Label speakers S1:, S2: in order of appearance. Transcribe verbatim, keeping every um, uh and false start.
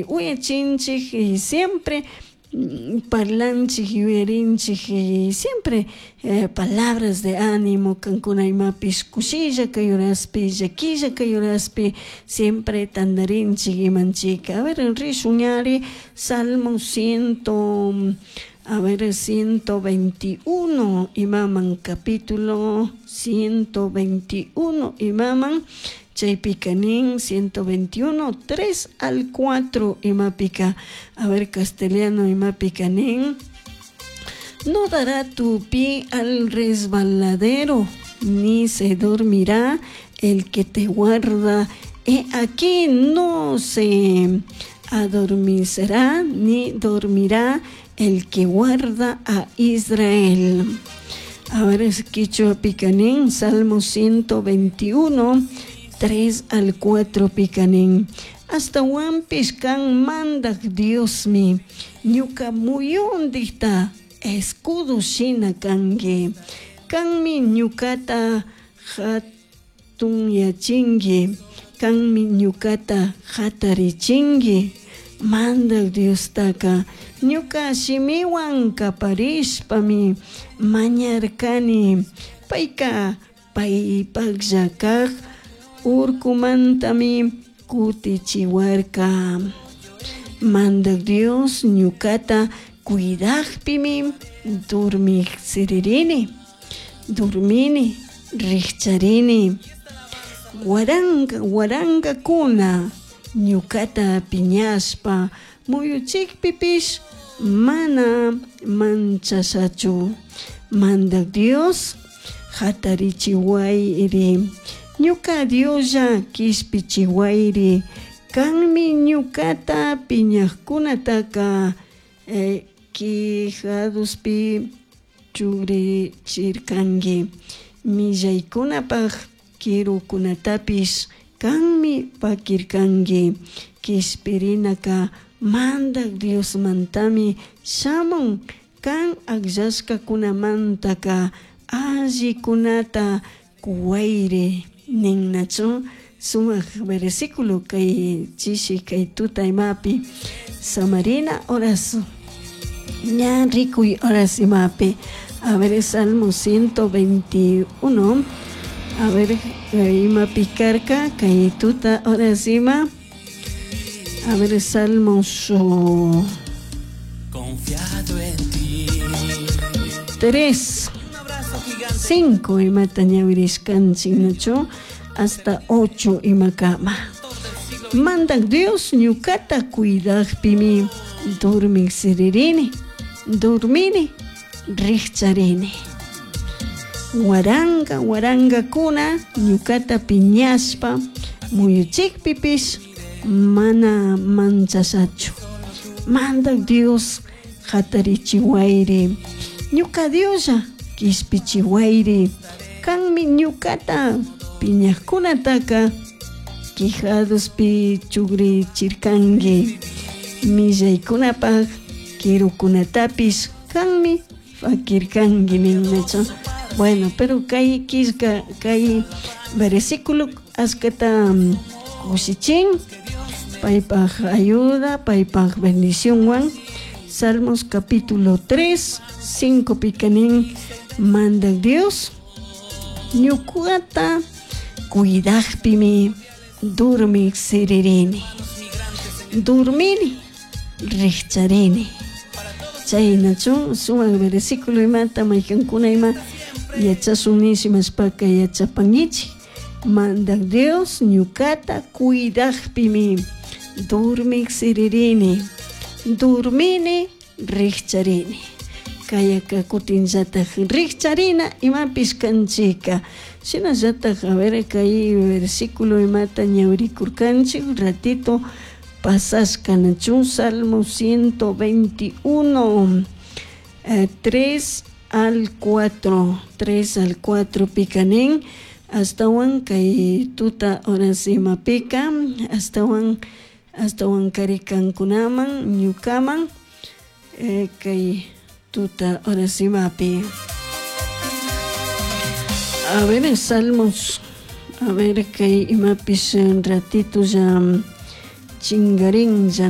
S1: Uyachinchik y siempre parlanchik yuyarinchik y siempre palabras de animo kankuna imapish kushilla kay horaspi llaquilla kay horaspi siempre tandarinchik imanchik. A ver rishun ñari Salmo ciento, a ver, ciento veintiuno imaman, capítulo ciento veintiuno imaman, chaypika nin ciento veintiuno tres al cuatro imapika, a ver, castellano imapika nin: no dará tu pie al resbaladero, ni se dormirá el que te guarda. He aquí no se adormecerá ni dormirá el que guarda a Israel. A ver, es quichua nin, Salmo ciento veintiuno, tres al cuatro picanin: Ashtahuanpish can Mandaj Diosmi ñuca muyundijta escudo shina cangui, kanmi ñucata jatunyachingui, kanmi ñucata jatarichingui. Mandaj Diostaca ñuca shimihuan caparishpami mañarcani, paica paypajlla kaj urcumantami kutichiwarka. Mandaj Dios ñucata cuidajpimi dormij siririni, dormini, rijcharini. Waranga warangakuna ñucata piñashpa muyuchikpipish mana manchashachu. Mandaj Dios jatarichiwayri, ñuca Dioslla kishpichiwayri, kanmi ñucata piñajkunataka eh, quijaduspi chugrichirkanki, millaykunapaj quirukunatapish kanmi pakirkanki. Kishpirinaka Mandaj Diosmantami shamun, kan akllashkakunamantaka allikunata kuwayri ninnachu. Sumak versículo kay chishi kay tuta imapi samarina horas ña rikuy horas imapi. A ver, Salmo ciento veintiuno, a ver, imapi karka kay tuta horas ima. A ver, Salmos oh,
S2: Confiado en ti.
S1: tres,
S2: Un abrazo gigante.
S1: cinco imata ñawirishkanchik nachu hasta ocho imakama. Mandak Dios ñukata cuidajpimi dormik siririni, dormini, rijcharini. Waranga warangakuna ñukata piñashpa muyuchikpipish mana manchashachu. Mandak Dios jatarichiwayri, ñuka Dioslla kishpichiwayri, kanmi ñukata piñajkunataka quijaduspi chugrichirkanki, millaykunapaj quirukunatapish kanmi fakirkanki ninnachu. Bueno, pero kay killka kay versículo ashkata kushichin paypaj ayuda, paypaj bendicionwan. Salmos capítulo tres, cinco picanin: Mandak Dios ñukata cuidajpimi dormik siririni, dormini, rijcharini. Chaynachu sumak versículo imata maykankuna ima yachashun nishimashpaka yachapankichik. Mandak Dios ñukata cuidajpimi dormik siririni, dormini, rijcharini. Kayaka kutinllataj rijcharina imapish kanchika. Shinallataj, a ver, kay versículo imata ñawirikurkanchik ratito pasashka nachu, Salmo ciento veintiuno, eh, tres al cuatro, tres al cuatro picanin, astawan kay tuta horas imapika, astawan, astawan karikankunaman ñukaman, eh, kay tuta horas imapi. A ver, Salmos, a ver, kay imapish ratito ya chingarin ya.